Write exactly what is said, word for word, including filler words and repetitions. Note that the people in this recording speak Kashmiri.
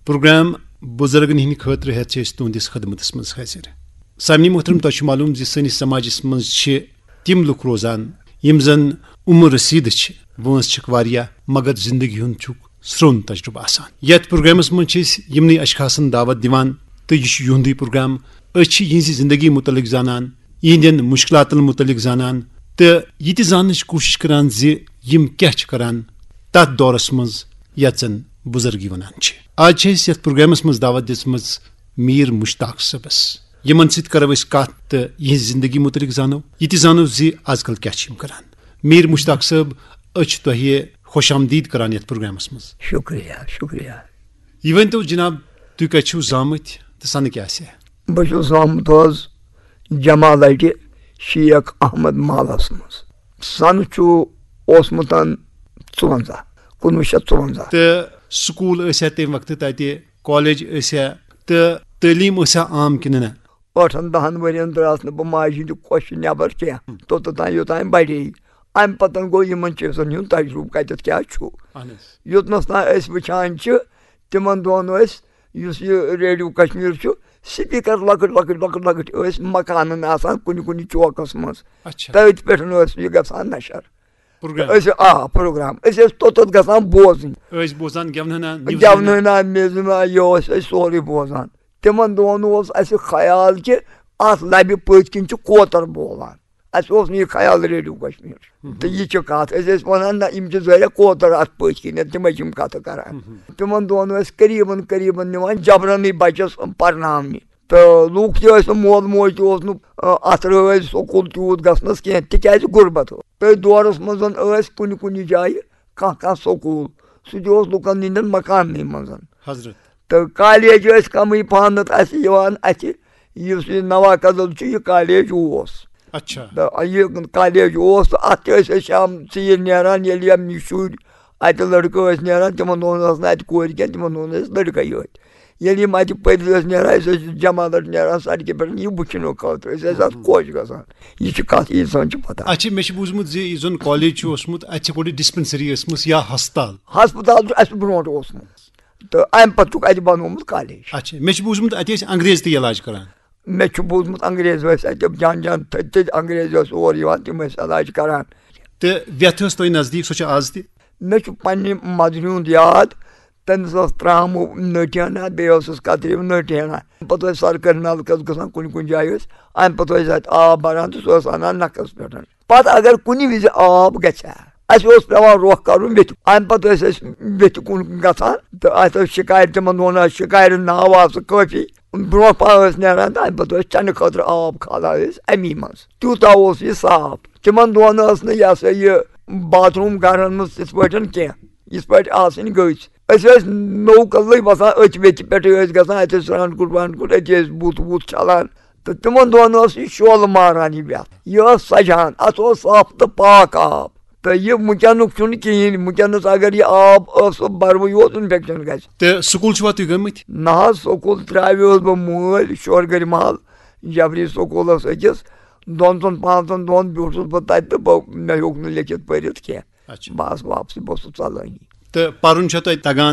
پروگرام بزرگن ہٕنٛدِ خٲطرٕ ہٮ۪تھ چھِ أسۍ تُہنٛدِس خدمتس منٛز حٲضِر۔ سامعیٖن محترم، تۄہہِ چھُ معلوم زِ سٲنِس سماجس منٛز چھِ تِم لُکھ روزان یِم زن عمر رسیدٕ چھِ، وٲنٛس چھِکھ واریاہ، مگر زندگی ہُنٛد چھُکھ سرٛون تجربہٕ آسان۔ یتھ پروگرامس منٛز چھِ أسۍ یِمنٕے اشخاصن دعوت دِوان تہٕ یہِ چھُ یِہُنٛدُے پروگرام۔ أسۍ چھِ یِہنٛزِ زندگی متعلق زانان، یِہنٛدٮ۪ن مشکلاتن متعلق زانان تہٕ یہِ تہِ زاننٕچ کوٗشش کران زِ یِم کیٛاہ چھِ کران تتھ دورس منٛز یتھ زن بزرگی ونان چھِ۔ آز چھِ أسۍ یتھ پروگرامس منٛز دعوت دِژمٕژ میر مشتاق صٲبس۔ یِمن سۭتۍ کرو أسۍ کتھ تہٕ یِہنٛز زندگی متعلق زانو، یہِ تہِ زانو زِ از کل کیٛاہ چھِ یِم کران۔ میر مشتاق صٲب، أسۍ چھِ تۄہہِ خوش آمدید کران یتھ پروگرامس منٛز۔ شُکریہ، شُکریہ۔ یہِ ؤنۍ تو جناب، تُہۍ کتہِ چھِو زامٕتۍ تہٕ سنہٕ کیٛاہ آسہِ؟ بہٕ چھُس زامُت حظ جمالٹہِ شیخ احمد محلس منٛز۔ سنہٕ چھُ اوسمُت ژُوَنزاہ، کُنوُہ شیٚتھ ژُوَنزاہ۔ تہٕ سکوٗل ٲسیا تمہِ وقتہٕ تتہِ، کالج ٲسیا، تہٕ تعلیٖم ٲسیا عام کِنہٕ نہ؟ ٲٹھن دہن ؤرین درٛاس نہٕ بہٕ ماجہِ ہٕنٛدِ کۄشہِ نٮ۪بر کینٛہہ، توٚتتھ تام یوٚتام بڑے۔ امہِ پتن گوٚو یِمن چیٖزن ہُنٛد تجرُبہٕ کتٮ۪تھ کیٛاہ چھُ۔ اہن حظ۔ یوٚتنس تام أسۍ وٕچھان چھِ، تِمن دۄہن ٲسۍ، یُس یہِ ریڈیو کشمیر چھُ، سپیکر لۄکٕٹۍ لۄکٕٹۍ لۄکٕٹۍ لۄکٕٹۍ ٲسۍ مکانن آسان کُنہِ کُنہِ چوکس منٛز۔ اچھا۔ تٔتھۍ پٮ۪ٹھ ٲسۍ یہِ گژھان نشر۔ پروگرام۔ أسۍ آ پروگرام، أسۍ ٲسۍ توٚتتھ گژھان بوزٕنۍ۔ ٲسۍ بوزان گٮ۪ونہٕ ہنا، نِوزٕ ہنا۔ گٮ۪ونہٕ ہنا، میزٕ ہنا، یہِ اوس أسۍ سورُے بوزان۔ تِمن دۄہن اوس اسہِ خیال کہِ اتھ لبہِ پٔتۍ کِنۍ چھُ کوتر بولان۔ اسہِ اوس نہٕ یہِ خیال ریڈیو کشمیر۔ تہٕ یہِ چھِ کتھ، أسۍ ٲسۍ ونان، نہ، یِم چھِ ظٲہرہ کوتر اتھ پٔتۍ کِنۍ، تِمے چھِ یِم کتھٕ کران۔ تِمن دۄہن ٲسۍ قریبن قریبن نِوان جبرنٕے بچس پرناونہِ۔ تہٕ لوٗکھ تہِ ٲسۍ نہٕ، مول موج تہِ اوس نہٕ، آ، اتھ رٲضۍ سکوٗل تیوٗت گژھنس کینٛہہ، تِکیازِ غربت ٲس۔ تٔتھۍ دورس منٛز ٲسۍ کُنہِ کُنہِ جایہِ کانٛہہ کانٛہہ سکوٗل، سُہ تہِ اوس لُکن ہٕنٛدٮ۪ن مکاننٕے منٛز۔ حضرت۔ تہٕ کالیج ٲسۍ کمٕے پہنتھ اسہِ یِوان اتھِ، یُس یہِ نوا کدل چھُ، یہِ کالیج اوس۔ اچھا۔ تہٕ یہِ کالیج اوس، تہٕ اتھ تہِ ٲسۍ أسۍ شام ژیٖرۍ نیران، ییٚلہِ یِم شُرۍ اتہِ لڑکہٕ ٲسۍ نیران، تِمن دۄہن ٲس نہٕ اتہِ کورِ کینٛہہ، تِمن دۄہن ٲسۍ لڑکے یٲتۍ۔ ییٚلہِ یِم اتہِ پٔرِتھ ٲسۍ نیران، أسۍ ٲسۍ جمالٹ نیران سڑکہِ پٮ۪ٹھ یہِ وٕچھنہٕ خٲطرٕ، أسۍ ٲسۍ اتھ خۄش گژھان۔ یہِ چھِ کتھ، ییٖژہن چھِ پتہ۔ اچھا، مےٚ چھُ بوٗزمُت زِ یُس زن کالج چھُ اوسمُت، اتہِ چھِ گۄڈٕ ڈسپنسری ٲسمٕژ یا ہسپتال۔ ہسپتال چھُ اسہِ برونٛٹھ اوسمُت، تہٕ امہِ پتہٕ چھُکھ اتہِ بنوومُت کالیج۔ اچھا، مےٚ چھُ بوٗزمُت اتہِ ٲسۍ انگریز تہِ علاج کران۔ مےٚ چھُ بوٗزمُت انگریز ٲسۍ اتہِ جان جان تھٔدۍ تھٔدۍ انگریز ٲسۍ اور یِوان، تِم ٲسۍ علاج کران۔ تہٕ ویتھ ٲس تۄہہِ نزدیٖک، سۄ چھِ آز تہِ؟ مےٚ چھُ پننہِ مدرِ ہُنٛد یاد، تٔمِس ٲس ترٛامہٕ نٔٹۍ ہنا، بیٚیہِ ٲسٕس کترِو نٔٹۍ ہنا۔ پتہٕ ٲسۍ سرکٲرۍ نلکس گژھان، کُنہِ کُنہِ جایہِ ٲسۍ، امہِ پتہٕ ٲسۍ اتہِ آب بران تہٕ سُہ ٲس انان نکھس پٮ۪ٹھ۔ پتہٕ اگر کُنہِ وِزِ آب گژھِ ہا، اسہِ اوس پٮ۪وان رۄخ کرُن ویٚتھِ۔ امہِ پتہٕ ٲسۍ أسۍ ویٚتھِ کُن گژھان تہٕ اتہِ ٲسۍ شِکارِ، تِمن دۄہن ٲس شِکارِ ناو آسہٕ کٲفی۔ برونٛہہ پہن ٲسۍ نیران تہٕ امہِ پتہٕ ٲسۍ چنہٕ خٲطرٕ آب کھالان أسۍ امی منٛز۔ تیوٗتاہ اوس یہِ صاف۔ تِمن دۄہن ٲس نہٕ، یہِ ہسا یہِ، باتھ روٗم گرن منٛز تِتھ پٲٹھۍ کینٛہہ، یِتھ پٲٹھۍ آسٕنۍ گٔژھۍ۔ أسۍ ٲسۍ نوٚو کدلٕے وسان، أتھۍ ویٚتھِ پٮ۪ٹھٕے ٲسۍ گژھان، اتہِ ٲسۍ سرٛان کُٹھ وان کُٹھ، أتی ٲسۍ بُتھ وُتھ چھلان۔ تہٕ تِمن دۄہن اوس یہِ شولہٕ ماران یہِ ویتھ، یہِ ٲس سجان، اتھ اوس صاف تہٕ پاک آب۔ تہٕ یہِ وٕنکیٚنُک چھُنہٕ کِہیٖنۍ، وٕنکیٚنس اگر یہِ آب ٲس بروٕے یوت، انفیکشن گژھِ۔ تہٕ سکوٗل چھِوا تُہۍ گٔمٕتۍ؟ نہ حظ، سکوٗل ترٛاویوس بہٕ مٲلۍ شورگرِ محل جبری سکوٗلس أکِس، دۄن ژۄن پانٛژن دۄہن بیوٗٹھُس بہٕ تتہِ تہٕ بہٕ، مےٚ ہیوٚک نہٕ لیٚکھِتھ پٔرِتھ کینٛہہ۔ اچھا۔ بہٕ آس واپسٕے، بہٕ اوسُس ژلٲنی۔ تہٕ پرُن چھا تۄہہِ تگان؟